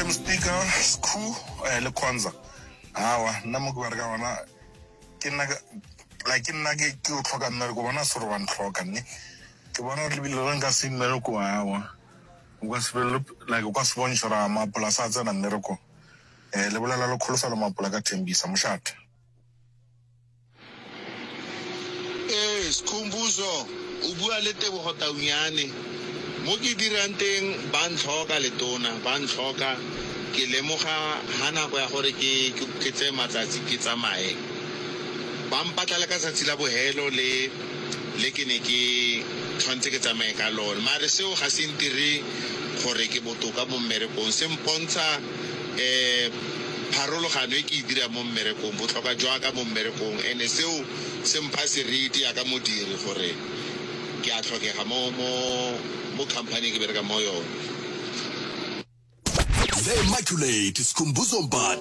Madam Speaker, Skhu eh, le Khonza. Awa, nna mo ke bereka gona ke nna like ke nna ke ke o tlhoka mmereko bona se gore wa ntlhoka nne. Ke bona gore lebile re nka se mmereko awa. O ka se be like o ka se bontšhe gore mapolasa a tsena mmereko. Eh le bolela le kholofelo mapola ka Thembisa mošate. Ee, Skhumbuzo, o bua le Tebogo Taunyane. Mo ke dirang teng ba ntlhoka letona, ba ntlhoka. Ke lemoga ha nako ya gore ke ke tseye matsatsi ke tsamaye. Ba mpatla le ka tsatsi la bohelo le le ke ne ke tshwanetse ke tsamaye ka lone. Mare seo ga se ntire gore ke botoka mo mmerekong, se mpontsha um pharologano e ke e dirang mo mmerekong, botlhokwa jwa ka mo mmerekong, and-e seo se mpha seriti yaka modiri gore ke a tlhokega mo, mo, mo company e ke berekang mo yone. The Immaculate Skhumbuzo Mbatha.